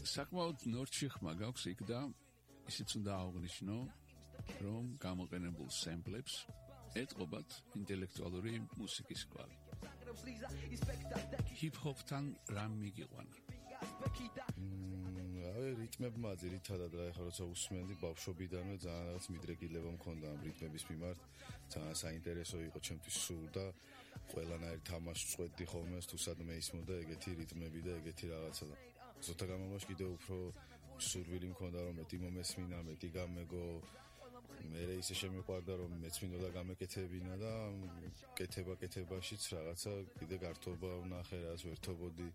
საკმაოდ ნორჩი ხმა გაქვს იქ და ისიც უნდა აღვნიშნო, რომ გამოყენებულ სემპლებს ეტყობათ ინტელექტუალური მუსიკის კვალი. ჰიპ-ჰოპთან რამ მიგიყვანა? რიტმებმა ძირითადად რა ეხლა როცა უსმენდი ბავშვობიდანვე ძალიან რაღაც მიდრეკილება მქონდა ამ რიტმების მიმართ, ძალიან საინტერესო იყო ჩემთვის სულ და ყველანაირ თამაშს წვეთდი ხოლმე თუ სადმე ისმოდა ეგეთი რიტმები და ეგეთი რაღაცა და ზოთა განმავლობაში კიდევ უფრო სურვილი მქონდა რომ მეტი მომესმინა, მეტი გამეგო მე ისე შემიყვარდა რომ მეცმინოდა გამეკეთებინა და კეთებაშიც რაღაცა კიდე გართობა ვნახე რაც ვერთობოდი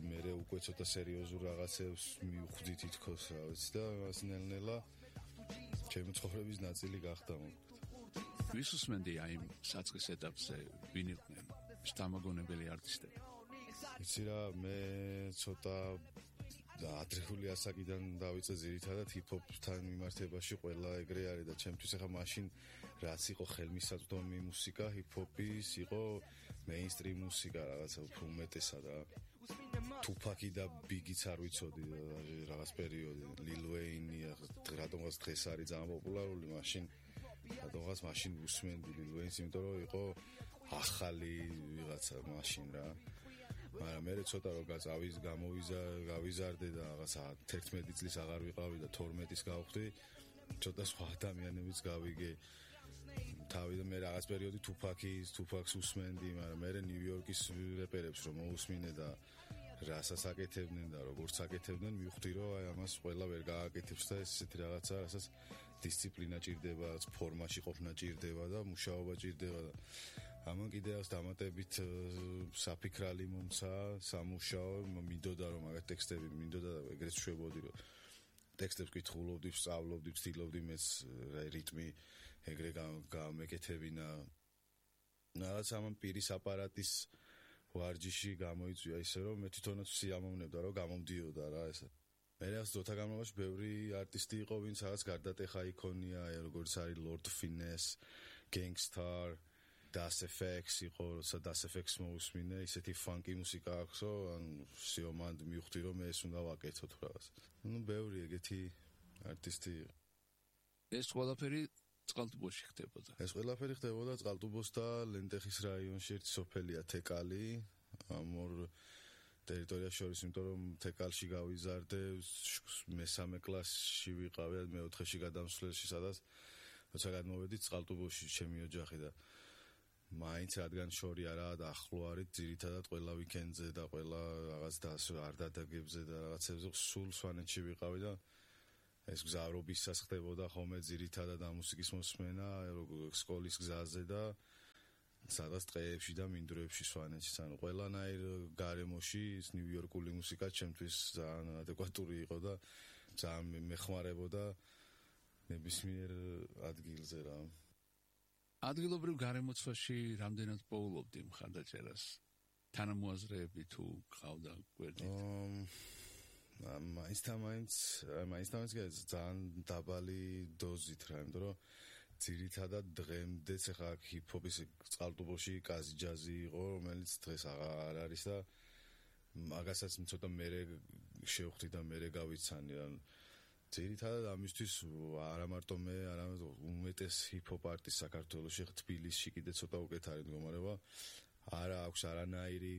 მე უკვე ცოტა სერიოზულ რაღაცებს მივხვდი თითქოს რა ვიცი და ასნელ-ნელა ჩემი ცხოვრების ნაწილი გახდა მოკლედ ვის უსმენდი აი იმ საწყის ეტაპზე ვინ იყვნენ შთამაგონებელი არტისტები იცი რა მე ცოტა ადრეული ასაკიდან დავიწყე ძირითადად ჰიპ-ჰოპთან მიმართებაში ყველა ეგრე არის და ჩემთვის ახლა მაშინ რაც იყო ხელმისაწვდომი მუსიკა ჰიპ-ჰოპის იყო მეინსტრიმ მუსიკა რაღაცა უფრო უმეტესად რა Tupac და Biggie-ც არ ვიცოდი რაღაც პერიოდი Lil Wayne რატომღაც დღეს არის ძალიან პოპულარული მაშინ რატომღაც მაშინ უსმენდი Lil Wayne-ს იმიტომ რომ იყო ახალი ვიღაცა მაშინ რა მაგრამ მე ცოტა რომ გავიზარდე და რაღაცა 11 წლის აღარ ვიყავი და 12-ის გავხდი ცოტა სხვა ადამიანებიც გავიგე თავიდან მე რაღაც პერიოდი Tupac-ს უსმენდი მაგრამ მე ნიუ-იორკის რეპერებს რომ მოусმინე და რასაც აკეთებდნენ და როგორც აკეთებდნენ მივხვდი რომ აი ამას ყველა ვერ გააკეთებს და ესეთი რაღაცა რასაც დისციპლინა ჭირდება ფორმაში ყოფნა ჭირდება და მუშაობა ჭირდება და ამან კიდე ას დამატებით საფიქრალი მომცა სამუშაო მინდოდა რომ მაგათ ტექსტები მინდოდა და ეგრეთ შვებოდი რომ ტექსტებს კითხულობდი, სწავლობდი, ვცდილობდი მეც რიტმი ეგრე გამეკეთებინა რაღაც ამან პირის აპარატის ვარჯიში გამოიწვია ისე რომ მე თვითონაც სიამოვნებდა რომ გამომდიოდა რა ესა მე რაც ძოთა განმავლობაში ბევრი არტისტი იყო ვინც რაღაც გარდატეხა იქონია როგორც არის Lord Finesse, Gangstar Das FX იყო, როცა Das FX მოусმინე, ისეთი ფანკი მუსიკა აქვსო, ანუ სიომანდ მივხვდი რომ ეს უნდა ვაკეთოთ რაღაც. ნუ ბევრი ეგეთი არტისტი. ეს ყველაფერი წყალტუბოში ხდებოდა. ეს ყველაფერი ხდებოდა წყალტუბოს და ლენტეხის რაიონში ერთი სოფელია თეკალი, ამ ორ ტერიტორიას შორის, იმიტომ რომ თეკალში გავიზარდე, მესამე კლასში ვიყავი, მეოთხეში გადამსვლელში, სადაც როცა გადმოვედი წყალტუბოში ჩემი ოჯახი და მაინც რადგან შორი არაა და ახლო არის ძირითადად ყველა ვიკენდზე და ყველა რაღაც არ დადაგებზე და რაღაცებზე სულ სვანეთში ვიყავი და ეს გზავრობისას ხდებოდა ხოლმე ძირითადად ამ მუსიკის მოსმენა სკოლის გზაზე და სადაც ტყეებში და მინდვრებში სვანეთში ანუ ყველანაირ გარემოში ის ნიუ-იორკული მუსიკა ჩემთვის ძალიან ადეკვატური იყო და ძალიან მეხმარებოდა ნებისმიერ ადგილზე რა ადგილობრივ გარემოცვაში რამდენად პოულობდი მხარდაჭერას თანამოაზრეები თუ ყავდა გვერდით მაინც ძალიან დაბალი დოზით რა იმიტომ რომ ძირითადად დღემდეც ახლა ჰიპ-ჰოპის წყალტუბოში კაზი ჯაზი იყო რომელიც დღეს აღარ არის და მაგასაც ცოტა მერე შევხვდი და მერე გავიცანი რა ძირითადად ამისთვის არა მარტო მე, არამედ უმეტეს ჰიპ-ჰოპ არტისტ საქართველოში თბილისში კიდე ცოტა უკეთ არის მდგომარეობა. არა აქვს არანაირი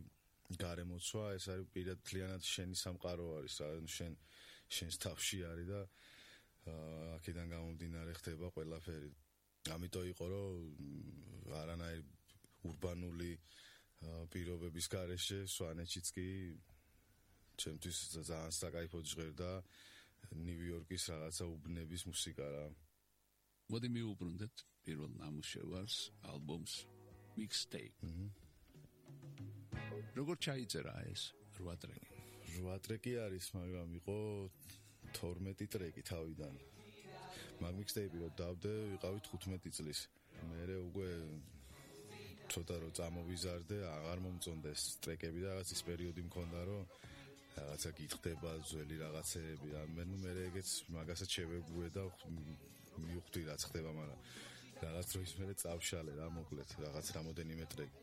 გარემოცვა, ეს არის პირადად შენი სამყარო არის, შენს თავში არის და აქედან გამომდინარე ხდება ყველაფერი. ამიტომ იყო რომ არანაირი ურბანული პირობების გარეშე სვანეთშიც კი ჩემთვის ძალიან საკაიფოდ ჟღერდა ნიუ-იორკის რაღაცა უბნების მუსიკა რა. მოდი მივუბრუნდეთ პირველ ნამუშევარს, ალბომს Mixtape. როგორ ჩაიწერა ეს 8 ტრეკი? 8 ტრეკი არის, მაგრამ იყო 12 ტრეკი თავიდან. მაგ Mixtape-ი რო დავდე, ვიყავი 15 წლის. მერე უკვე ცოტა რო წამოვიზარდე, აღარ მომწონდა ეს ტრეკები და რაღაც ის პერიოდი მქონდა, რომ რაღაცა გითხდება ძველი რაღაცეები მე ეგეც მაგასაც შევეგუე და მივხვდი რაც ხდება მაგრამ რაღაც დროის მერე წავშალე რა მოკლედ რაღაც რამოდენიმე ტრეკი